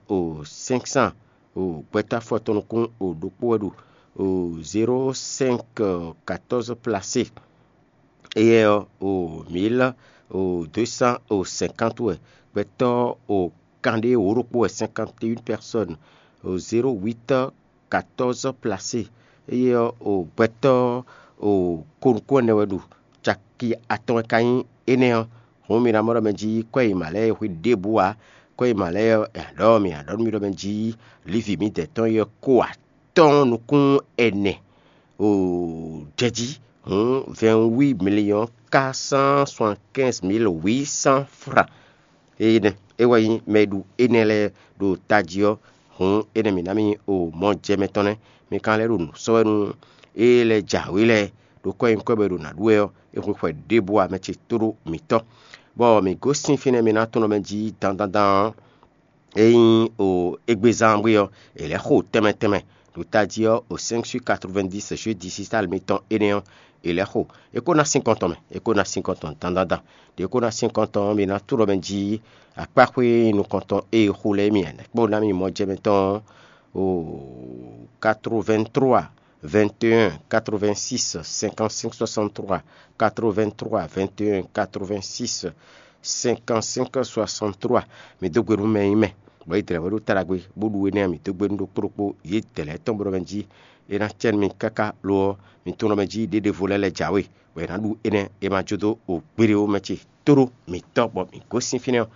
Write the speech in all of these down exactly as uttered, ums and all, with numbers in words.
o cinq cents o gbɛtɔ́ afɔtɔn nukún o ɖokpó wɛ ɖo o zéro cinq quatorze placé. Éyɛ́ ɔ́, o mille o deux cents o cinquante wɛ. Gbɛtɔ́ o kanɖé wǒ ɖokpó wɛ, cinquante et une personnes, o zéro huit quatorze placé. Éyɛ́ ɔ́, o gbɛtɔ́ o ko nukún ɛnɛ wɛ ɖo. Caki atɔn wɛ ka nyí énɛ́ ɔ́. Hǔn mi ná mɔ ɖɔ mɛ jí kwɛ́ yi mǎ lɛ́ɛ e hwe ɖěbǔ ǎ. Kwɛ́ yi mǎ lɛ́ɛ ɔ́, è nǎ ɖɔ mi nǎ ɖɔ nú mi ɖɔ mɛ jí lívi mǐdɛɛ tɔn yi ɔ́ ko atɔ́ɔ́n nukún ɛnɛ o jɛ jí. Hǔn vingt-huit millions quatre cent soixante-quinze mille huit cents francs. Énɛ́ é wɛ nyí mɛ e ɖu énɛ́ lɛ́ɛ ɖo tají ɔ́. Hǔn énɛ́ mǐ ná mì o mɔ jɛ mɛ tɔn nɛ́. Mi ka lɛ́ ɖo nǔ sɔ́ wɛ nú é lɛ́ɛ jǎwe lɛ́ɛ, ɖo kɔ́ e nyí kɔ́ bɔ è ɖo nǎ ɖu wɛ ɔ́, é hwe xwɛ ɖěbǔ ǎ mɛ ce tóɖó mǐtɔn. Bɔ mǐ gosín fínɛ́ mi ná tunɔ mɛ jí dandandan ɔ́, é nyí o égbézán bwé ɔ́, è lɛ́ xo tɛnmɛ tɛnmɛ ɖo tají ɔ́, o cinq sur quatre-vingt-dix jeu digital mitɔn énɛ́ ɔ́, è lɛ́ xo. É ko ná sín kɔntɔn mɛ, é ko ná sín kɔntɔn dandandan. Ɖě é ko ná sín kɔntɔn ɔ́, mi ná tunɔ mɛ jí akpáxwé nukɔntɔn e è xo lɛ́ɛ mi ǎ, kpó ná mi mɔ jɛ mɛ tɔn o quatre-vingt-trois vingt et un quatre-vingt-six cinquante-cinq soixante-trois, quatre-vingt-trois vingt et un quatre-vingt-six cinquante-cinq soixante-trois. Mi dó gbe nú mɛ e nyí mɛ, bɔ yě dlɛ̌ wɛ ɖó ta ɖagbe, bó ɖu énɛ́ ɔ́, mi dó gbe nú ɖokpó ɖokpó yě dlɛ̌ tɔn bó ɖɔ mɛ jí é ná cɛ nú mi káká lo ɔ́, mi tunɔ mɛ jí ɖěɖevo lɛ́ɛ lɛ́ jǎwe, bɔ è nǎ ɖu énɛ́, è ma jó dó o gbére ó mɛ ce tóɖó mǐtɔn, bɔ mǐ gosín fínɛ́ ɔ́.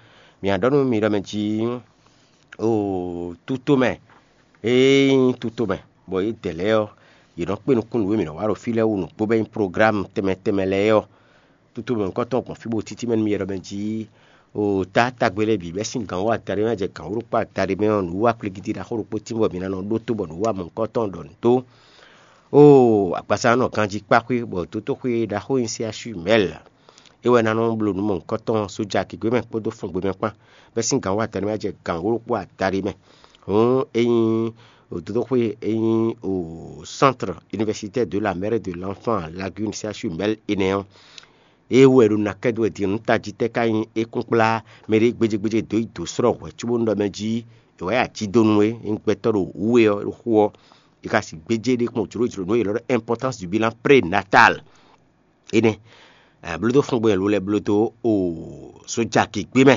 Mi ná ɖɔ nú mi ɖɔ mɛ jí o tutomɛ, ée nyí tutomɛ, bɔ yě dɛ lɛ́ɛ ɔ́, yě nɔ kpé nukún nǔ e mǐ nɔ wa ɖo fí lɛ́ɛ wú nǔgbó bɔ é nyí programu tɛnmɛ tɛnmɛ lɛ́ɛ ɔ́. Tutomɛ nukɔntɔn gbɔn fí bó títí mɛ nú mi ɖɔ mɛ jí o tá tagbe lɛ́ɛ bǐ bɛ́ sín gǎn wú adaɖé mɛ jɛ gǎn wú ɖokpó adaɖé mɛ ɔ́, nǔwiwa kwlígídí ɖaxó ɖokpó tín bɔ mǐ ná nɔ ɖótó bɔ nǔwiwa mɔ̌hunkɔtɔn ɖɔ nǔ dó. Oo, agbaza nɔ ganjí kpáxwé, bɔ dǒtoxwé ɖaxó nyi sé asú mɛ̌l. É wɛ ná nɔ bló nǔ mɔ̌hunkɔtɔn sója gěgé mɛ kpódó fɔngbe mɛ kpán, bɛ́ sín gǎn wú adaɖé mɛ jɛ gǎn wú ɖokpó adaɖé mɛ. Hǔn é nyí dǒtoxwé e nyí o Centre Universitaire de la Mère et de l'Enfant Lagune C H U Mɛ̌l énɛ́ ɔ́, é wɛ ɖo ná kɛ dó wɛ din nǔ tají tɛ́ ka nyí é kún kplá mɛɖé gbéjégbéjé dó yi dǒ slɔ́ hwɛ̌ cóbónú ɖɔ mɛ jí è wǎ yi ají dó nú we, é nyí gbɛtɔ́ ɖo wǔ we ɔ́ ɖo xó ɔ́, è ka sixú gbéjé ɖé kpɔ́n jlǒjlǒ nú é lɔ́ ɖɔ importance du bilan prénatal. Énɛ́ blódó fúngbɛn lo lɛ́ɛ blódó o sójà gěgbé mɛ.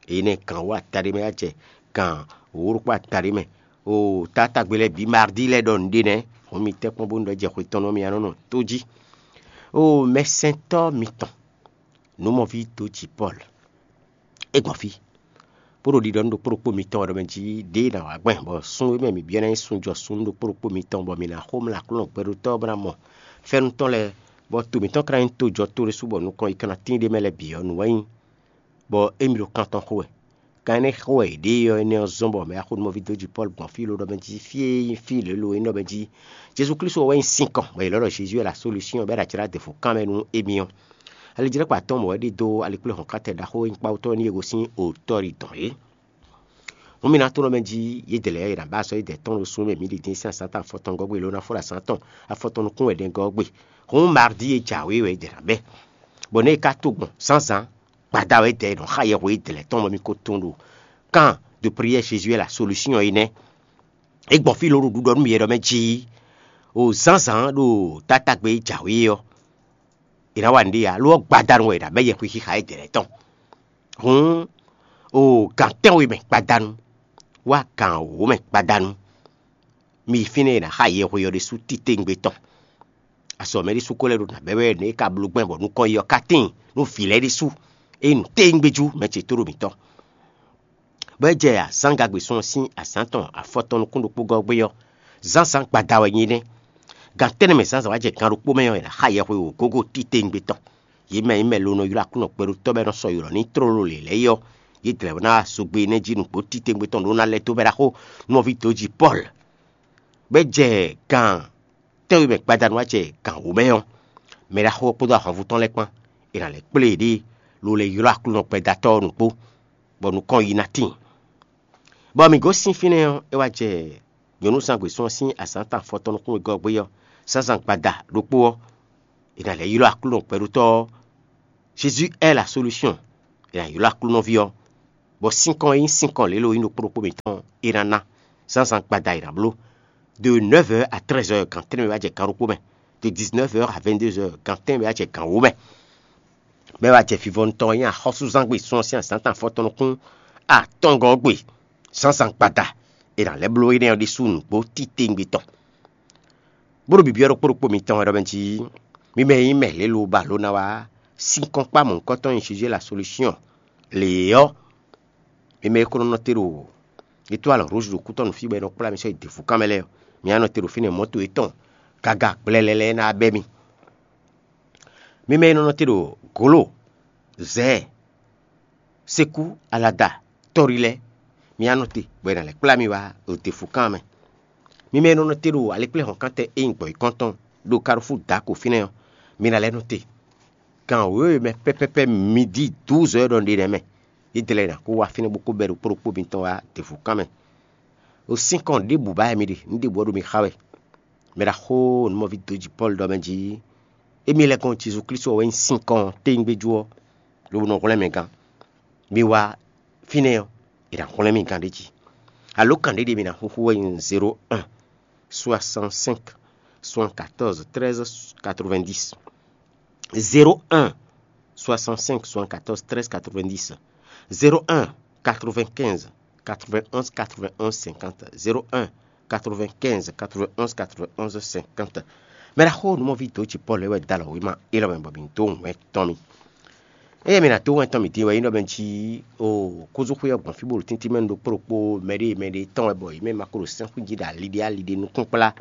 Énɛ́ gǎn wú ata ɖé mɛ wá jɛ gǎn wǒ ɖokpó ata ɖé mɛ. O tátágbe lɛ́ɛ bǐ mardi lɛ́ɛ ɖɔ nǔɖé nɛ́, hǔn mi tɛ́ kpɔ́n bónú ɖɔ jɛ xwe tɔn nú mì a nɔ nɔ tó jí. O mɛsɛntɔ́ mitɔn, nǔmɔví dó jǐ Pɔ́lu, é gbɔn fí, bó ɖo ɖiɖɔ nú ɖokpó ɖokpó mitɔn wɛ ɖɔ mɛ jí ɖěe nǎ wá gbɛn, bɔ sun e mɛ mǐ byɔ́ ná nyí sunjɔ sun nú ɖokpó ɖokpó mitɔn, bɔ mǐ ná xomlá Aklúnɔ gbɛɖótɔ́ ɔ́ bó ná mɔ. Fɛ́nú tɔn lɛ́ɛ, bɔ to mǐtɔn ka ná nyí tojɔ to ɖésú, bɔ nukɔn yi ka ná tíin ɖ'é mɛ lɛ́ɛ bǐ ɔ́, nǔ wɛ nyí, bɔ émí ɖo kan tɔn xo wɛ. Kan énɛ́ xo wɛ yě ɖe ɔ́, énɛ́ ɔ́ zɔ́n bɔ mɛ axónúmɔví dó jǐ Pɔ́lu gbɔn fí ló ɖɔ mɛ jí fí e nyí fí lělo e nyí ɖɔ mɛ jí Jezu Klísu ɔ́ wɛ nyí sinkɔn, bɔ yě lɔ́ ɖɔ Jezu wɛ la solúsyɔn bɔ é ɖo acɛ ɖó aděfo kan mɛ nú émí ɔ́. Alijlɛ́kpa tɔn mɔ̌ wɛ ɖidó alikpléhɔ̌nkántɛn ɖaxó e nyí kpawutɔ́ ɔ́ n'i e gosín otɔ́ ɖi dɔn é. Hǔn mi ná tónɔ mɛ jí yědɛɛ lɛ́ɛ è nǎ ba azɔ̌ yědɛɛ tɔn ɖo sun e mɛ mǐ ɖi dín sín azǎn tɔn afɔtɔn gɔ́ gbe, lo ná fó ɖo azǎn tɔn afɔtɔn nukún wɛ ɖɛngɔ́ ɔ́ gbe. Hǔn Maɖi e jǎwe wɛ yědɛɛ ná bɛ́, bɔ nɛ̌ è ka to gbɔn zǎnzǎn gbada wɛ yědɛɛ è nɔ xa yɛhwe yědɛɛ lɛ́ɛ tɔn bɔ mi ko tunwun ɖo kan de prière Jésus est la solution é nɛ́. É gbɔn fí ló ɖo ɖiɖɔ nú mì wɛ ɖɔ mɛ jí o zǎnzǎn ɖo tátágbe e jǎwe ɔ́, è nǎ wa nǔɖé ǎ, lo ɔ́ gbadanu wɛ è nǎ bɛ́ yɛhwe xixa yědɛɛ lɛ́ɛ tɔn. Hǔn o gǎn tɛ́nwe mɛ gbadanu wá gǎn wǒ mɛ gbadanu, mi yi fínɛ́ e è nǎ xa yɛhwe ɔ́ ɖésú titewungbe tɔn. Azɔ̌ mɛ ɖésú ko lɛ́ ɖo nǎ bɛ́ wɛ nɛ̌ é ka bló gbɛn bɔ nukɔn yi ɔ́ ka tíin nú vǐ lɛ́ɛ ɖésú, ényí nǔ tewungbe jú mɛ ce tóɖo mǐtɔn. Bɔ é jɛ azǎn gagbe sun ɔ́ sín azǎn tɔn afɔtɔn nukún ɖokpó gɔ́ gbé ɔ́, zǎnzǎn gbada wɛ nyí nɛ́. Gan tɛ́nnɛ mɛ zǎnzǎn wá jɛ gan ɖokpó mɛ ɔ́, è nǎ xa yɛhwe wǒ gógó titewungbe tɔn. Yě mɛ e mɛ lo nɔ ylɔ́ Aklúnɔ kpɛɖótɔ́ bɔ é nɔ sɔ́ ylɔ̌ n'i tlóló lě lɛ́ɛ é ɔ́, yě dlɛ̌ ná wá zogbe énɛ́ jí nǔgbó titewungbe tɔn ɖó ná lɛ́ dó mɛ ɖaxó nɔví dǒjí Pɔ́lu. Bɔ é jɛ gan tɛ́nwe mɛ gbadanu wá jɛ gan wǒ mɛ ɔ́, mɛ ɖaxó ɔ́ kpódó ahwanvú tɔn lɛ́ɛ kpán, è nǎ lɛ́ kplé yěɖée, lo lɛ́ ylɔ́ Aklúnɔ gbɛdatɔ́ ɔ́ nǔgbó, bɔ nukɔn yi ná tíin. Bɔ mǐ gosín fínɛ́ ɔ́, é wá jɛ nyɔ̌nuzángbe sún ɔ́ sín azǎn tɔn afɔtɔn nukún wegɔ́ gbé ɔ́, zǎnzǎn gbada ɖokpó ɔ́, è nǎ lɛ́ ylɔ́ Aklúnɔ gbɛɖótɔ́ ɔ́, Jésus est la solution. È nǎ ylɔ́ Aklúnɔví ɔ́, bɔ sinkɔn e nyí sinkɔn lě lo nyí ɖokpó ɖokpó mǐtɔn é ná ná. Zǎnzǎn gbada è nǎ bló. De neuf heures à treize heures, gan tɛ́nnɛ wɛ wá jɛ gan ɖokpó mɛ. De dix-neuf heures à vingt-deux heures, gan tɛ́nnɛ wɛ wá jɛ gan wǒ mɛ. Bɔ é wá jɛ vivɔnu tɔn e nyí axɔ́súzán gbe sun ɔ́ sín azǎn tɔn afɔtɔn nukún atɔngɔ́ ɔ́ gbe. Zǎnzǎn gbada è nǎ lɛ́ bló énɛ́ ɔ́ ɖésú nǔgbó titewungbe tɔn. Bó ɖo bibyɔ́ ɖokpó ɖokpó mitɔn wɛ ɖɔ mɛ jí, mi mɛ e nyí mɛ lě lo ba lǒ ná wá sinkɔn kpá mɔ̌hunkɔtɔn e nyí Jésus la solution lě ɔ́, mi mɛ e ko nɔ nɔ te ɖo étoile rouge ɖo kútɔ́ nǔ fí bɔ è nɔ kplá mi sɔ́ yi dǐfúkan mɛ lɛ́ɛ ɔ́, mi wá nɔ te ɖo fínɛ́ mɔ̌to yětɔn gaga gblɛlɛ lɛ́ɛ ná bɛ́ mi. Mi mɛ e nɔ nɔ te ɖo gǒlo, zɛ̌, sekú, alada, tɔ́rí lɛ́ɛ, mi wá nɔ te bɔ è nǎ lɛ́ kplá mi wá ɖo dǐfúkan mɛ. Mi mɛ e nɔ nɔ te ɖo alikpléhɔ̌nkántɛ e nyí gbɔ̌yǐkɔ́ntɔn ɖo Kalifú Dako fínɛ́ ɔ́, mi ná lɛ́ nɔ te. Gan wěwe mɛ pɛ́pɛ́pɛ́ midi dǔzɔ́ e ɖɔ un ɖe nɛ́ mɛ, é dlɛ́ ná kó wá fínɛ́ bó kó bɛ́ ɖokpó ɖokpó mitɔn wá dǐfúkan mɛ. Ɖo sín kɔn ɖěbǔ ba wɛ mi ɖe, nǔ ɖěbǔ ɔ́ ɖo mi xa wɛ. Mɛ ɖaxó nǔmɔví dǒ jí Pɔ́lu ɖɔ mɛ jí, émí lɛ́ gɔ́n Jezu Klísu ɔ́ wɛ nyí sinkɔn téyíngbejú ɔ́, lobo nɔ hwlɛ́n mɛ gán. Mi wá fínɛ́ ɔ́, è nǎ hwlɛ́n mì gán ɖé jí. Alǒkan ɖé ɖíe mi ná xúxú wɛ nyí zéro un, soixante-cinq, soixante-quatorze, treize, quatre-vingt-dix. Zéro un, soixante-cinq, soixante-quatorze, treize, quatre-vingt-dix. Zéro un, quatre-vingt-quinze, quatre-vingt-onze, quatre-vingt-onze, cinquante. Zéro un, quatre-vingt-quinze, quatre-vingt-onze, quatre-vingt-onze, cinquante. Mɛ ɖaxó nǔmɔví dǒ ci Pɔ́lu é wɛ dó alɔ wěma élɔ́ mɛ bɔ mǐ dó wɛn tɔn mì. Eye mǐ ná dó wɛn tɔn mǐ din wɛ nyí ɖɔ mɛ jí o kúzúxwé ɔ́ gbɔn fí bó ɖo tíntín mɛ nu ɖokpó ɖokpó mɛɖée mɛɖée tɔn wɛ bɔ yě mɛ ma ko ɖo sɛ́nxwíjí ɖo aliɖe aliɖe nukúnkplá.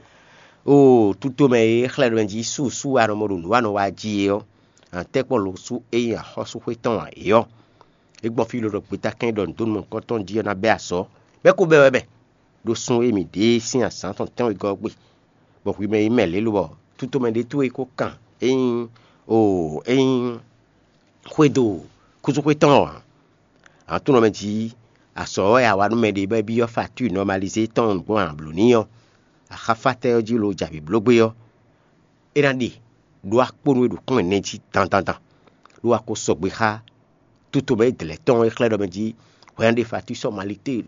O tuto mɛ e xlɛ́ ɖɔ mɛ jí súsú anɔ mɔ ɖo nǔ anɔ wa jí é ɔ́, antɛ́kpɔ́ lo sú é nyí axɔ́súxwé tɔn ǎ é ɔ́, é gbɔn fí ló ɖɔ gbetá kɛn ɖɔ nǔdónú mɔ̌hunkɔtɔn jí ɔ́ ná bɛ́ asɔ, bɛ́ kó bɛ́ wɛ mɛ, ɖó sun e mǐ ɖe sín azǎn tɔn tɛ́nwegɔ́ ɔ́ gbe, bɔ hwi mɛ nyí mɛ lě lobɔ tútomɛ ɖé towe ko kan é nyí o é nyí xwédo kúzúxwé tɔn ɔ́ ǎ. Aklúnɔ mɛ jí asɔ ɔ́ wɛ a wa nú mɛɖé bɔ é byɔ́ facture normalisée tɔn gbɔn a blǒ n'i ɔ́, axáfátɛ́ ɔ́ jí lo jɛ avǐ bló gbé ɔ́, é ná ɖe ɖó akpónú e ɖo kún ɛnɛ jí dandandan, ɖó a ko sɔgbe xá tutomɛ e dlɛ̌ tɔn e xlɛ́ ɖɔ mɛ jí hwɛ ná ɖe facture normalité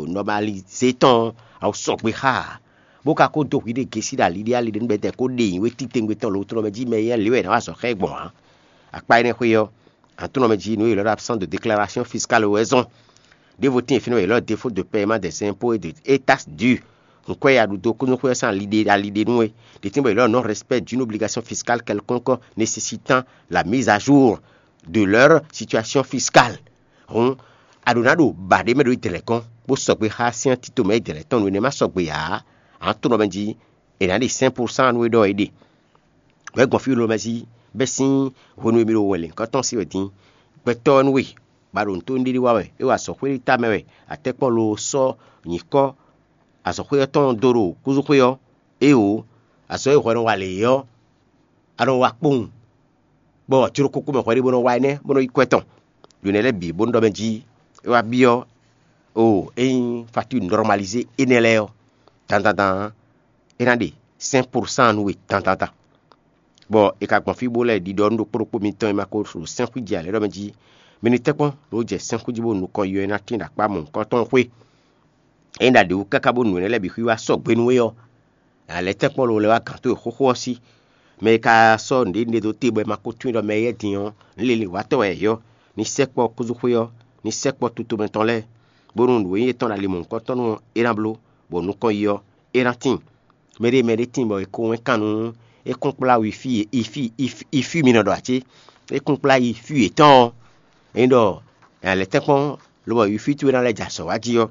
normalisée tɔn ɔ́, a ko sɔgbe xá ǎ. Bó ka ko dó hwi ɖé gěsí ɖo ali ɖé ali ɖé nú bɛtɛ kó ɖe nyǐwe titewungbe tɔn lǒtlɔ́ mɛ jí mɛ éyɛ́ lě wɛ è nǎ wa azɔ̌ xá ɛ gbɔn ǎ. Akpá énɛ́ xwé ɔ́, aklúnɔ mɛ jí nǔ e ylɔ́ ɖɔ absence de déclaration fiscale wɛ zɔ́n. Ɖěvo tíin fínɛ́ wɛ ylɔ́ défaut de paiement des impôts et des taxes dues. Nǔkɔ́ e a ɖu dó kúnnuxwé ɔ́ sín aliɖe aliɖe nú we. Ɖě tíin bɔ ylɔ́ non-respect d'une obligation fiscale quelconque nécessitant la mise à jour de leur situation fiscale. Hǔn a ɖǒ ná ɖo ba ɖé mɛ ɖo Izlayɛ́li gɔ́n, bó sɔgbe xá syɛ́n tito mɛ Izlayɛ́li tɔn nǔ énɛ́ ma sɔgbe ǎ. Aklúnɔ mɛ jí è nǎ ɖe cinq pour cent nú we ɖɔ é ɖe. Wɛ gbɔn fí lomɛ jí bɛ́ sín hwenu e mi ɖo wɛn lěhunkɔtɔn sí wɛ din. Gbɛtɔ́ ɔ́ nú we, ba ɖo nǔ tó nɖéɖé wa wɛ, é wa azɔ̌xwé ɖé ta mɛ wɛ, atɛ́kpɔ́ lo sɔ́ nyǐkɔ azɔ̌xwé ɔ́ tɔn dó ɖo kúzúxwé ɔ́, éeǒ, azɔ̌ e hwɛ nɔ wa lě é ɔ́, a nɔ wa kpowun, bɔ jló kókó mɛ hwɛ ɖé bó nɔ wa énɛ́ bó nɔ yí kwɛ́ tɔn. Ɖo nɛ̌ lɛ́ɛ bǐ bónú ɖɔ mɛ jí é wá byɔ́ o é nyí facture normalisée énɛ́ lɛ́ɛ ɔ́, dandandan é ná ɖe cinq pour cent nú we dandandan. Bɔ è ka gbɔn fí bó lɛ́ ɖiɖɔ nú ɖokpó ɖokpó mitɔn e ma ko ɖo sɛ́nxwíji ǎ lɛ́ɛ ɖɔ mɛ jí, mi ní tɛ́ kpɔ́n lǒ jɛ sɛ́nxwíji bó nukɔn yɔ ná tín ɖo akpá mɔ̌hunkɔtɔn xwé. É nyí ɖaɖě wú káká bónú nǔ énɛ́ lɛ́ɛ bǐ xwíwá sɔgbe nú we ɔ́, a lɛ̌ tɛ́ kpɔ́n lo lɛ́ wá gǎn towe xóxó ɔ́ sí. Mɛ e ka sɔ́ nǔɖé nɖe dó te bɔ è ma ko tunwun ɖɔ mɛ éyɛ́ din ɔ́, nǔ lili wǎtɔ́ wɛ è yɔ́, ní sɛkpɔ́ kúzúxwé ɔ́, ní sɛkpɔ́ tutomɛ tɔn lɛ́ɛ, bónú nǔ e nyí étɔn ɖo ali mɔ̌hunkɔtɔn ɔ́, é ná bló, bɔ nukɔn yi ɔ́, é ná tíin. Mɛɖée mɛɖée tíin bɔ è ko wɛn kan nú é kún kplá wifí e ifí ifí mi nɔ ɖɔ ǎ cé? É kún kplá yi fí yětɔn ɔ́, é nyí ɖɔ è nǎ lɛ́ tɛ́nkpɔ́n lobɔ wifí towe ná lɛ́ jɛ azɔ̌ wa jí ɔ́,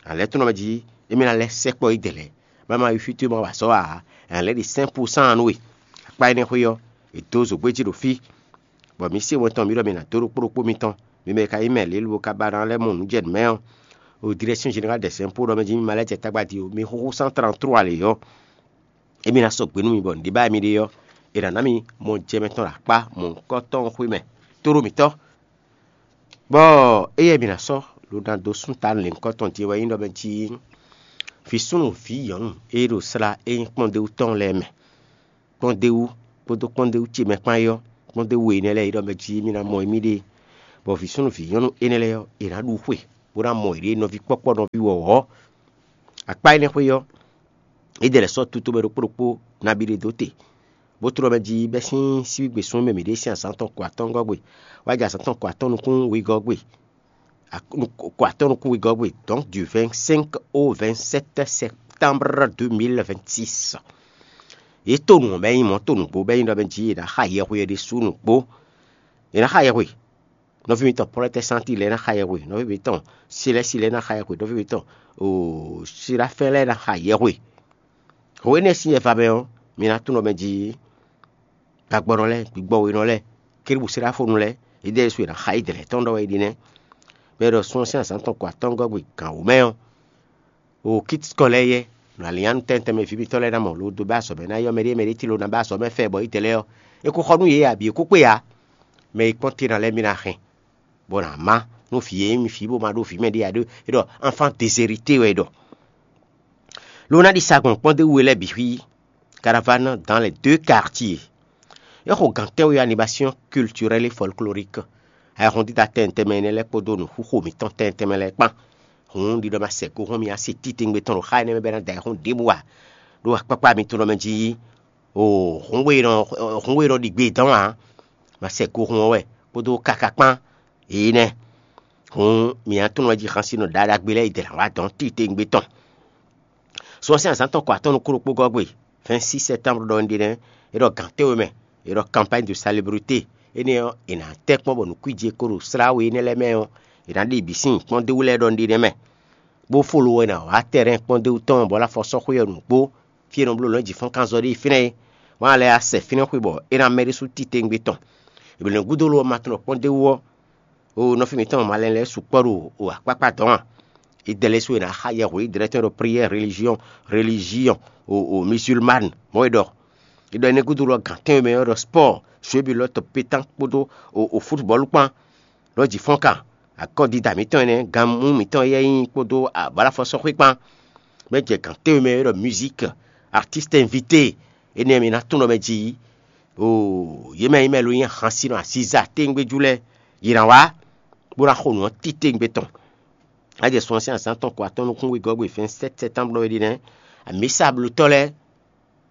a lɛ́ tɔ́n nɔ mɛ jí émí ná lɛ́ sɛkpɔ́ yi dɛ̌lɛ́, bɔ ma wifí towe ma wa azɔ̌ ǎ, è nǎ lɛ́ ɖi cinq pour cent nú we. Akpá énɛ́ xwé ɔ́, è dǒ zǒgbé jí ɖo fí, bɔ mi se wɛn tɔn mi ɖɔ mi ná dó ɖokpó ɖokpó mitɔn, mi mɛ e ka nyí mɛ lě lobo ka ba ná lɛ́ mɔ nǔ jɛ nǔ mɛ ɔ́, o direction générale des impôts ɖɔ mɛ jí mi ma lɛ́ jɛ tagba din o, mi xúxú cent trente-trois lě ɔ́, émí ná sɔgbe nú mi bɔ nǔɖé ba mi ɖe ɔ́, è nǎ ná mi mɔ jɛ mɛtɔn ɖo akpá mɔ̌hunkɔtɔn xwé mɛ tóɖó mǐtɔn. Bɔ éyɛ́ mǐ ná sɔ́ ɖo ná dó sún ta lěhunkɔtɔn din wɛ nyí ɖɔ mɛ jí vǐ súnnu vǐ nyɔ̌nu e ɖo slá e nyí kpɔ́ndéwú tɔn lɛ́ɛ mɛ. Kpɔ́ndéwú kpódó kpɔ́ndéwú ce mɛ kpán é ɔ́, kpɔ́ndéwú énɛ́ lɛ́ɛ é ɖɔ mɛ jí mì ná mɔ émí ɖe. Bɔ vǐ súnnu vǐ nyɔ́nu énɛ́ lɛ́ɛ ɔ́, è nǎ ɖu xwe, bó ná mɔ yěɖée nɔví kpɔ́kpɔ́ nɔví wɔ̌wɔ́. Akpá énɛ́ xwé ɔ́, é ɖe lɛ̌ sɔ́ tutó mɛ ɖokpó ɖokpó nabí ɖé dó te, bó tlɔ́ mɛ jí bɛ́ sín síbígbe súnnu mɛ mǐ ɖe sín azǎn tɔn ko atɔ́ɔ́ngɔ́ gbe, wá jɛ azǎn tɔn ko atɔ́ɔ́n nukún wegɔ́ gbe, ko atɔ́ɔ́n nukún wegɔ́ gbe, donc du vingt-cinq au vingt-sept septembre deux mille vingt-six. Yě to nǔ ɔ́ bɛ́ nyí mɔ̌ to nǔgbó bɛ́ nyí ɖɔ mɛ jí è nǎ xa yɛhwe ɔ́ ɖésú nǔgbó. È nǎ xa yɛhwe. Nɔví mitɔn protɛsanti lɛ́ɛ ná xa yɛhwe, nɔví mitɔn silɛ́si lɛ́ɛ ná xa yɛhwe, nɔví mitɔn silafɛ́n lɛ́ɛ ná xa yɛhwe. Hǒ énɛ́ sín yɛva mɛ ɔ́, mi ná tunwun ɖɔ mɛ jí gbagbɔnɔ lɛ́ɛ, gbigbɔwénɔ lɛ́ɛ, kérúbusíláfonu lɛ́ɛ, yědɛɛ ɖésú è nǎ xa yí dlɛ̌ tɔn ɖɔ wɛ é ɖi nɛ́. Mɛ e ɖɔ sun ɔ́ sín azǎn tɔn ko atɔ́ɔ́ngɔ́ gbe gǎn wǒ mɛ ɔ́, o kítíkɔ lɛ́ɛ yɛ́, nɔ alǐnnyánú tɛntɛn mɛ vǐ mitɔ́ lɛ́ɛ ná mɔ lo dó bɛ́ azɔ̌ mɛ ná yɔ́ mɛɖée mɛɖée tló ná bɛ́ azɔ̌ mɛ fɛ bɔ yí dlɛ́ ɔ́, é kó xɔ nú yě ǎ bǐ é kó kpé ǎ. Mɛ e kpɔ́n te ná lɛ́ɛ mi ná hɛn, bɔ nǎ má nú vǐ e nyí vǐ bó ma ɖó vǐ mɛ ɖé ǎ ɖó é ɖɔ enfant déshéritée wɛ é ɖɔ. Lo ná ɖi sa gbɔn kpɔ́ndéwú we lɛ́ɛ bǐ xwí, caravane dans les deux quartiers. É xo gǎn tɛ́nwe animation culturelle et folklorique. Ayɛhɔn dídá tɛnmɛ tɛnmɛ énɛ́ lɛ́ɛ kpódó nǔxuxo mǐtɔn tɛnmɛ tɛnmɛ lɛ́ɛ kpán. Hǔn ɖiɖɔ ma sɛ go hɔn mì asi titewungbe tɔn ɖo xá énɛ́ mɛ bɔ é ná da ayɛhɔn ɖěbǔ ǎ. Ɖó akpákpá mitɔn ɖɔ mɛ jí o hǔnwe e nɔ hǔnwe e nɔ ɖi gbe dɔn ǎ, ma sɛ go hun ɔ́ wɛ kpódó káká kpán. Énɛ́ hǔn mǐ ná tunwun wɛ jí xansínɔ ɖaɖagbe lɛ́ɛ yi dɛ lǎn wá dɔn titewungbe tɔn. Sɔ sín azǎn tɔn kɔ atɔ́ nukún ɖokpó gɔ́ gbe, vingt-six septembre ɖɔ un ɖe nɛ́, é ɖɔ gǎn tɛ́nwe mɛ, é ɖɔ campagne de salubrité. Énɛ́ ɔ́, è nǎ tɛ́ kpɔ́n bɔ nǔkwíji e ko ɖo slá we énɛ́ lɛ́ɛ mɛ ɔ́, è nǎ ɖe bǐ sín kpɔ́ndéwú lɛ́ɛ ɖɔ un ɖe nɛ́ mɛ. Bó fó lo wɛ ná wá tɛ́nɛ́ kpɔ́ndéwú tɔn bɔ é ná fɔ sɔ́ xwé ɔ́ nǔgbó, fí e è nɔ bló lɔ̌njǐfɔ́nkanzɔ́ ɖe fínɛ́ é. Wǎn lɛ́ɛ á sɛ fínɛ́ xwé bɔ é ná mɛ ɖésú titewungbe tɔn. È blǒ nɛ́ gúdo lo ɔ́ ma tunɔ kpɔ́ndéwú ɔ́, o nɔví mǐtɔn malɛn lɛ́ɛ sukpɔ́ ɖo o akpákpá dɔn a? Idɛlɛsu e ná xa yɛhwe idɛlɛ tɔn ɖo prière religion religion o o musulmane mɔ̌ e ɖɔ. È ɖɔ énɛ́ gúdo lɔ gǎn tɛ́nwe mɛ ɔ́ ɖɔ spɔ́ɔ, jeu de lɔ́tɔ pétan kpódó o o futbɔ́lu kpán. Lɔ̌ jǐ fɔ́n kan, akɔ́dida mǐtɔn énɛ́, ganmú mǐtɔn éyɛ́ nyí kpódó abǎlafɔsɔ́xwé kpán. Mɛ jɛ gǎn tɛ́nwe mɛ e ɖɔ musique, artiste invité, énɛ́ mi ná tunɔ mɛ jí. Oo, yě mɛ nyí mɛ lo nyí ahansinɔ aziza téŋgbéjú lɛ́ɛ, yě ná wá, bó ná xo nǔ ɔ́ titewungbe tɔn. Á jɛ sun ɔ́ sín azǎn tɔn ko atɔ́ nukún wegɔ́ gbe vingt-sept septembre ɔ́ é ɖi nɛ́. Amǐsablotɔ́ lɛ́ɛ,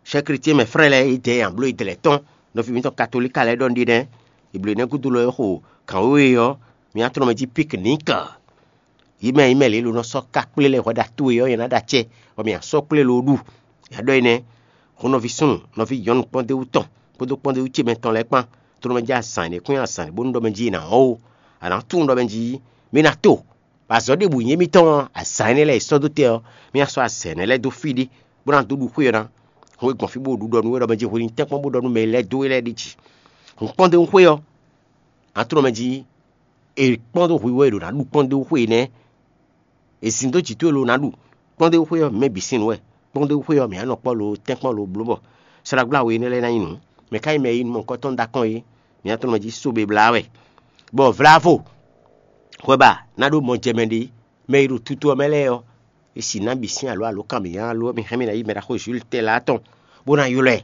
chɛ́ chrétien mɛ frɛ́ lɛ́ɛ, yě dɛ nyi abló yědɛɛ lɛ́ɛ tɔn. Nɔví mǐtɔn katolíka lɛ́ɛ ɖɔ un ɖi nɛ́. È blǒ nɛ́ gúdo lɔ é xo gǎn wéwe ɔ́, mǐ ná tlɔ́n mɛ jí piknik. Yě mɛ nyí mɛ lě lo nɔ sɔ́ ká kplé lɛ́ɛ hwɛ ɖo atú e ɔ́, yě ná ɖo acɛ, bɔ mǐ ná sɔ́ kplé lo ɖu. Yě ɖɔ énɛ́, hun nɔví súnnu, nɔví nyɔ̌nu kpɔ́ndéwú tɔn, kpódó kpɔ́ndéwú ce mɛ tɔn lɛ́ɛ kpán, tlɔ́n mɛ jí azǎn e kún nyi azǎn bónú ɖɔ mɛ jí è nǎ wɔ́ ó. A nǎ tunwun ɖɔ mɛ jí mǐ ná to, bɔ azɔ̌ ɖěbǔ nyí émítɔn ɔ́, azǎn énɛ́ lɛ́ɛ e sɔ́ dó tɛ ɔ́, mǐ ná sɔ́ azǎn énɛ́ lɛ́ɛ dó fí ɖé, bó ná dó ɖu xwé ɔ́ ná. Hɔn e gbɔn fí bó ɖu ɖɔ nú we ɖɔ mɛ jí hwe ní tɛ́nkpɔ́n bó ɖɔ nú mɛ e lɛ́ dó we lɛ́ɛ ɖi jǐ. Hun kpɔ́ndéwú xwé ɔ́, a tunɔ mɛ jí è kpɔ́n dó hwǐ wɛ è ɖǒ ná ɖu kpɔ́ndéwú xwe énɛ́. È zin dó jǐ towe lo ná ɖu kpɔ́ndéwú xwe ɔ́, mǐ mɛ bǐ sín nǔ wɛ. Kpɔ́ndéwú xwe ɔ́, mǐ á nɔ kpɔ́ lo tɛ́nkpɔ́n lo bló bɔ slágbláwe énɛ́ lɛ́ɛ ná nyí nǔ. Mɛ ka nyí mɛ e nyí nukɔntɔn ɖó akɔ́n é? Mǐ á tunɔ mɛ jí sóbe blá wɛ. Bɔ vlavo hwɛ ba ná ɖó mɔjɛmɛ ɖé, mɛ e ɖo tutu ɔ́ mɛ lɛ́ɛ ɔ́, è sǐ ná bǐ sín alǒ alǒkanmǐyá alo mì hɛn mì ná yi mɛ ɖaxó Jules Tɛlá tɔn, bó ná ylɔ́ ɛ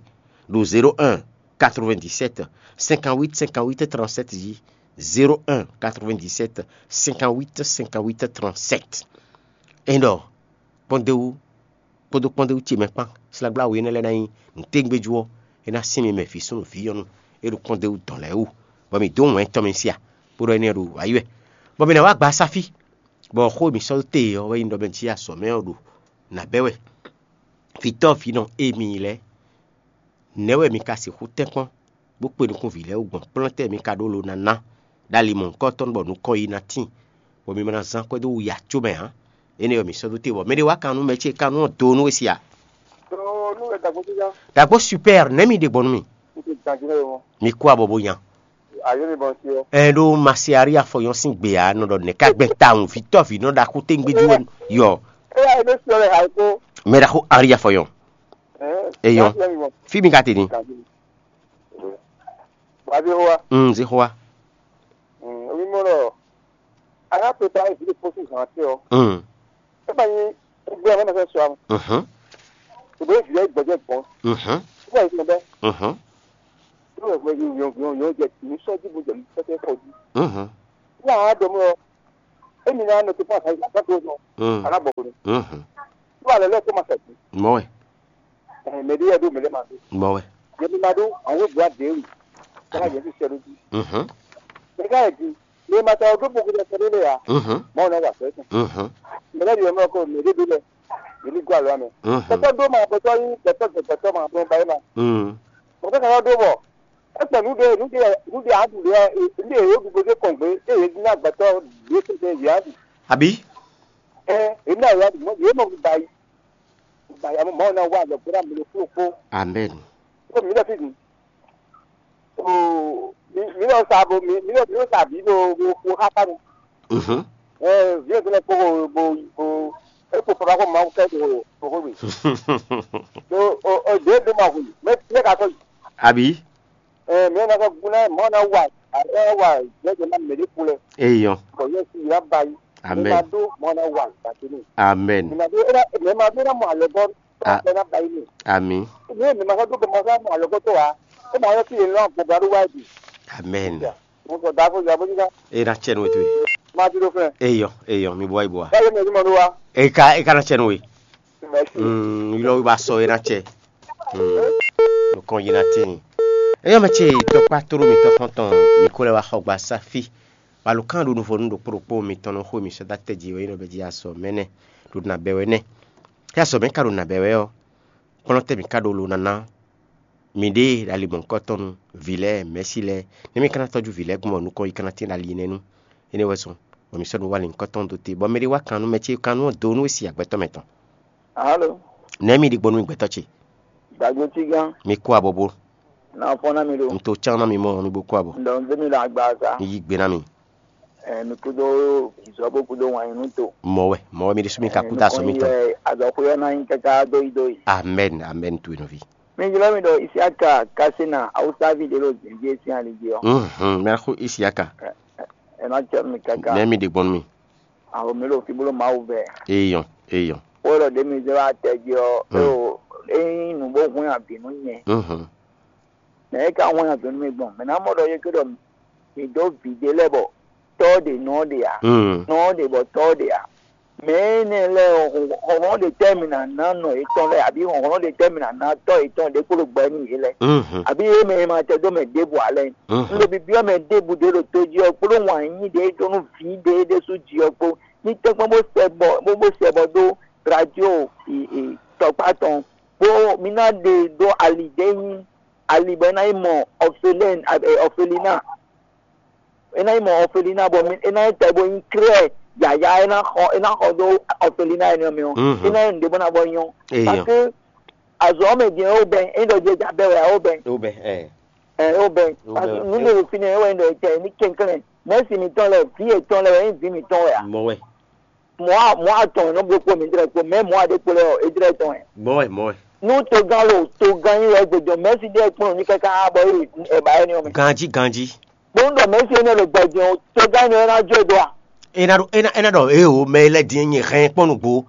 ɖo zéro un quatre-vingt-dix-sept cinquante-huit cinquante-huit trente-sept jí. Zéro un quatre-vingt-dix-sept cinquante-huit cinquante-huit trente-sept. É ɖɔ kpɔ́ndéwú kpódó kpɔ́ndéwú ce mɛ kpán, slágbláwe énɛ́ lɛ́ɛ ná nyí nǔtɛ́ngbéjú ɔ́, é ná sín mi mɛ vǐ súnnu vǐ nyɔ̌nu e ɖo kpɔ́ndéwú dɔn lɛ́ɛ wú, bɔ mǐ dó wɛ̌n tɔn mɛ sia, bó ɖɔ énɛ́ ɖo wǎ yi wɛ, bɔ mǐ ná wá gba asáfí. Bɔ xó e mǐ sɔ́ dó te ɔ́ wɛ nyí ɖɔ mɛ jí azɔ̌ mɛ ɔ́ ɖo nǎ bɛ́ wɛ. Vǐtɔ́ vǐnɔ e mi nyí lɛ́ɛ, nɛ̌ wɛ mi ka sixú tɛ́nkpɔ́n, bó kpe nukún vǐ lɛ́ɛ wú gbɔn kplɔ́n tɛ́ mi ka ɖó lo ná ná, ɖó ali mɔ̌hunkɔtɔn bɔ nukɔn yi ná tíin, bɔ mi ma ná zán kwɛ́ dó wuya có mɛ ǎ? Énɛ́ ɔ́, mǐ sɔ́ dó te bɔ mɛɖé wá kan nú mɛ ce kan nú ɔ́ do nú we sia. Ɖagbo super, nɛ̌ mi ɖe gbɔn nú mi? Mi kú abɔ bó nya. Ɛ ɖó Masiari afɔyɔn sín gbe ǎ nɔ ɖɔ nɛ̌ ká gbɛn tawun vǐtɔ́ vǐ nɔ ɖaxú téŋgbéjú wɛ yɔ. Mɛ ɖaxó Ari afɔyɔn. Eyɔn. Fí mi ka te ni? Wazixowa. Mm, Zixowa. Mm, omi mɔ lɔ. A ka prepare vi de posi zan te ɔ. Mm. E ba nyi egbe ame na fɛ sua. Mhm. O be vi gbɔjɛ gbɔn. Mhm. O ba yi gbɛ. Mhm. O be vi yɔn yɔn yɔn jɛ ni sɔ di bo jɛ ni sɔ tɛ kɔ di. Mhm. Ní a dɔn mɔ, emi ná nɔ tó fún àkàyè àkàtó nɔ, Mm. Àná bɔ wòle. Mhm. Tó alɛ lɛ tó ma sɛ kú. Mɔ wɛ. Ɛ mɛ ɖé yɛ ɖó mɛ lɛ ma ɖó. Mɔ wɛ. Yɛ mi ma ɖó, àwọn yóò bu adé wì. Kálá yɛ fi sɛ lójú. Mhm. Mɛ ká yɛ di, mɛ ma ta ɔdún bókú lɛ sɛ lé ya. Mhm. Mɔ nɔ wà sɛ tún. Mhm. Mɛ lɛ di yɛ mɔ kó mɛ ɖé ɖó lɛ. Yɛ mi gó alɔ mɛ. Mhm. Gbɛtɔ ɖó ma, gbɛtɔ yí, gbɛtɔ gbɛ, gbɛtɔ ma, gbɛ ba yé ma. Mm. Gbɛtɔ ka yɔ ɖó bɔ. Ɛkpɛ nu ɖe, nu ɖe, nu ɖe aɖu ɖe, nu ɖe yɛ ɖu bó dé kɔn gbé, eye yɛ di ná gbɛtɔ ɖé tɛtɛ yɛ aɖu. Àbí? Ɛ, yɛ ná yɛ aɖu, yɛ mɔ ba yi. Ba ya mɔ na wa lɔ gbéra mi lɔ kúrò kpó. Amen. Kó mi lɔ fi mi. O mi mi lɔ sa bo mi mi lɔ mi lɔ sa bi bo bo bo ha ka mi. Mhm. Ɛ viɛ tɛnɛ kpó bo bo bo e kpo papa ko ma kɛ bo bo ko mi. Do o o de do ma hu. Mɛ mɛ ka ko. Àbí? Ɛ mɛ na ka gu na mɔ na wa. Ɛ wa jɛ jɛ na mɛ de kulɛ. Eyɔn. Bɔ yɛ si ya ba yi. Amen. Mɛ ma do mɔ na wa ba tini. Amen. Mɛ ma do e na mɛ ma do na mɔ alɔ bɔ. Ah. Bɛ na ba yi ni. Ami. Ni mi ma ka do bɛ ma ka mɔ alɔ bɔ to wa. E ma yɔ ki yɛ lɔ bɔ ba do wa yi. Amen. Mo sɔ da ko ya bo ni ka. E na tsɛ nu etu. Ma ti do fɛ. Eyɔn, eyɔn, mi bɔ yi bɔ wa. Ba yɛ mɛ ni ma do wa. E ka e ka na tsɛ nu we. Merci. Mm, ylɔ wi ba sɔ e na tsɛ. Mm. Nukɔn yi na tin. Eyɔn mɛ ce tɔkpa toro mi tɔkɔn tɔn mi ko lɛ wa xɔ gba safi. Balo kan ɖo nuvɔnu ɖokpó ɖokpó mi tɔn nɔ xo mi sɔ da tɛ ji wɛ yi nɔ bɛ ji asɔ mɛ nɛ. Ɖo na bɛ wɛ nɛ. Kɛ asɔ mɛ ka ɖo na bɛ wɛ ɔ. Kplɔ́n tɛ́ mǐ ka ɖó lo ná ná miɖée ɖo ali mɔ̌hunkɔtɔn nu, vǐ lɛ́ɛ, mɛ̌si lɛ́ɛ, nɛ̌ mì ka ná tɔ́jú vǐ lɛ́ɛ gbɔn bɔ nukɔn yi ka ná tín ɖo ali énɛ́ nu? Énɛ́ wɛ zɔn bɔ mǐ sɔ́ nǔ wa lǐnkɔtɔn dó te, bɔ mɛɖé wá kan nú mɛ ce kan nú ɔ́ dó nú é si agbɛ́tɔ́ mɛtɔn. Alo. Nɛ̌ mi ɖi gbɔn nú mì gbɛtɔ́ ce? Dagbe cígán. Mi kú abɔbó. Ná fɔ́n ná mi ɖo. Un to cán ná mi mɔ mi bó kú abɔ. Ŋdɔ ń dé mi ɖo agbaza. Mi yí gbe ná mi. Ɛ, mi kúdó ìzɔ́bó kúdó wǎn nyi nú to. Mɔ̌ wɛ, mɔ̌ wɛ mi ɖésú mi ka kú dó azɔ̌ mitɔn. Azɔ̌xwé ɔ́ ná nyí káká dóyídóyí. Amɛn, amɛn, to e nɔví. Mi jlɔ́ mi ɖɔ Isiaka Kasena Awusávi ɖé ɖo zǐnjí e sín ali jí ɔ́. Mhm, mɛ xó Isiaka. Ɛ, ɛ, ɛ ná cɛ mi káká. Nɛ mi ɖe gbɔn nú mi. Awo mi ɖo fí bó ɖo Mawu vɛ. Eyɔn, eyɔn. Wó ɖɔ ɖě mi zé wá tɛ jí ɔ́, é o, é nyí nǔ bó hwɛ́n avǐ nú nyɛ. Mhm. Mɛ e ka wɛn azɔ̌ nú mi gbɔn, mɛ ná mɔ ɖɔ yě ké ɖɔ mi dó vǐ ɖé lɛ́ɛ bɔ tɔ́ ɖě nɔ ɖe ǎ, nɔ ɖě bɔ tɔ́ ɖě ǎ. Mɛ énɛ́ lɛ́ɛ ɔ́, hlɔ̌nhlɔ́n ɖě tɛ́ mi ná ná nɔ yětɔn lɛ́ɛ, abǐ hlɔ̌nhlɔ́n ɖě tɛ́ mi ná ná tɔ́ yětɔn ɖě kpó ɖo gbɛ nú yě lɛ́ɛ, abǐ yě mɛ e ma tɛ dó mɛ ɖěbǔ ǎ lɛ́ɛ. Un ɖo bibyɔ́ mɛ ɖěbǔ ɖě ɖo tó jí ɔ́ kpódó wǎn yíyí ɖě e ɖó nú vǐ ɖě ɖésú jí ɔ́ kpó. Ní tɛ́nkpɔ́n bó sɛ bɔ bó bó sɛ bɔ dó radio tɔkpá tɔn, bó mi ná ɖe dó ali ɖě nyí ali bɔ é ná yi mɔ Ɔfelɛ́n, ɛ, Ɔfelina. É ná yi mɔ Ɔfelina bɔ mi, é ná yi tɛ bó nyí klɛ́ yǎyá, é ná xɔ, é ná xɔ dó Ɔfelina énɛ́ ɔ́ mɛ ɔ́, é ná yi nǔɖé bó ná bɔ nyɔ́. Parce que azɔ̌ ɔ́ mɛ din ɔ́, ó bɛn, é ɖɔ jɛ ja bɛ́ wɛ ɔ́, ó bɛn. Ó bɛn, ɛ. Ɛ, ó bɛn. Parce que nǔ ɖé ɖo fínɛ́ é wɛ nyí ɖɔ é tɛ ní kɛnklɛ́n. Mɛ̌si mǐtɔn lɛ́ɛ, vǐ yětɔn lɛ́ɛ wɛ nyí vǐ mǐtɔn wɛ ǎ. Mɔ wɛ. Mɔ̌ a mɔ̌ atɔn e nɔ bló kpó mǐdɛɛ kpó mɛ mɔ̌ a ɖe kpó lɛ́ɛ ɔ́, é jlɛ́ tɔn wɛ. Mɔ̌ wɛ, mɔ̌ wɛ. Nú togán lo togán nyi wɛ gbɔjɔ mɛ̌si ɖíe kplɔ́n ní káká bɔ é yi ɛ ba énɛ́ ɔ́ mɛ. Ganjí, ganjí. Bóńdɔ mɛ̌si énɛ́ lo gbɔjɛ o, togán nyi wɛ ná jó e dó a? É ná ɖɔ é ná é ná ɖɔ éeǒ mɛ e lɛ́ din nyɛ hɛn kpɔ́n nǔgbó.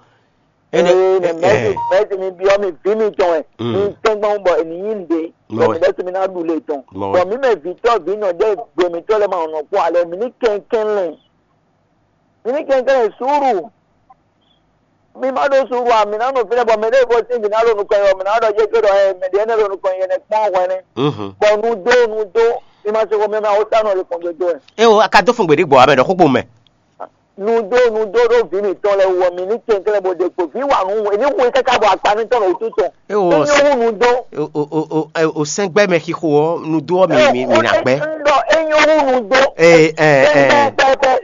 Énɛ́ Ee, mɛ mɛ̌si mɛ̌si mi byɔ́ mi vǐ mitɔn wɛ. Mi tɛ́ngbɔn bɔ è nǐ nyí nǔɖé. Bɔ mǐ ɖɛ́ mi ná ɖu le tɔn. Bɔ mǐ mɛ vǐtɔ́ vǐ nɔ ɖé gbe mǐtɔn lɛ́ɛ ma nɔ kpɔ́n alɛ mǐ ní kɛnklɛ́n. Mi ní kɛnklɛ́n suúlu. Mi ma ɖó suúlu ǎ, mi ná nɔ fínɛ́ bɔ mɛ ɖěvo sín vǐ ná ɖo nukɔn yɔ, mi ná ɖɔ jɛ ké ɖɔ ɛ mɛ ɖě énɛ́ ɖo nukɔn yɛ nɛ́ kpɔ́n hwɛnɛ́. Bɔ nu dó nu dó, mi ma se xomɛ mɛ awúsá nɔ ɖo kɔn dó dó ɛ. É o, a ka dó fun gbe ɖě gbɔ ame ɖɔ xó kpo mɛ. Nu dó nu dó ɖó vǐ mǐtɔn lɛ́ɛ wú ɔ́, mi ní kɛnklɛ́n bó ɖe kpo. Vǐ wa nǔ, è ní hu i káká bɔ akpa ní tɔn ɖo wútu tɔn. É o, é nyɔ́ hú nu dó. O o o o o sɛngbɛ mɛ xixo ɔ nu dó ɔ mi mi mi na gbɛ. Ŋdɔ é nyɔ́ hú nu dó. Ee ɛ ɛ ɛ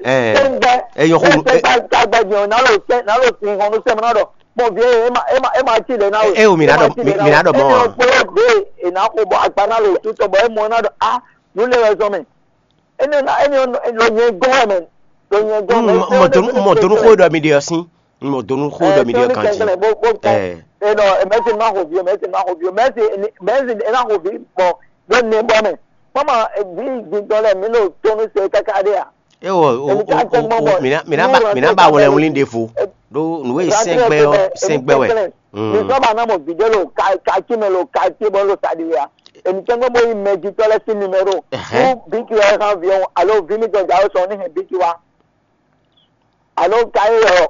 ɛ. É nyɔ́ hú nu. Ɛ ɛ ɛ ɛ. Ná lo sɛ ná lo sin hɔn nu sɛ mɔ ná ɖɔ. Bɔn vi ɛ ma ɛ ma ɛ ma ti lɛ na o. Ɛ o mi na ɖɔ mi mi na ɖɔ mɔ. Ɛ nyɔ́ kpɔ́ ɖe è nà xo bɔ agba ná lo tutɔ bɔ é mɔ ná ɖɔ a nu lé wɛ zɔn mɛ. Ene na ene lɔ nyɛ gɔn wɛ mɛ. Lɔ nyɛ gɔn mɛ. Mɔ donu mɔ donu xo ɖɔ mi ɖe ɔsin. Mɔ donu xo ɖɔ mi ɖe kan ji. Ɛ. Eno mɛsi ma xo vi o mɛsi ma xo vi o mɛsi mɛsi ena xo vi bɔ ɖo ne bɔ mɛ. Mama vi gbintɔ lɛ mi lo tonu se kaka ɖe a. Ewɔ o o o mina mina ba mina ba wɛlɛ wuli ɖe fo. Ɖo nu e sɛngbɛ ɔ sɛngbɛ wɛ. Mi sɔ ba na mɔ vi ɖe lo ka ka ti mɛ lo ka ti bɔ lo sa ɖi ya. Èmi tɛ́nkpɔ́n bó yí mɛjitɔ́ lɛ́ɛ sín numéro. Nú bíkì wɛ hán vǐ ɔ́, alo vǐ mitɔn jǎwe sɔn ní hɛn bíkì wá. Alo ka é ɔ,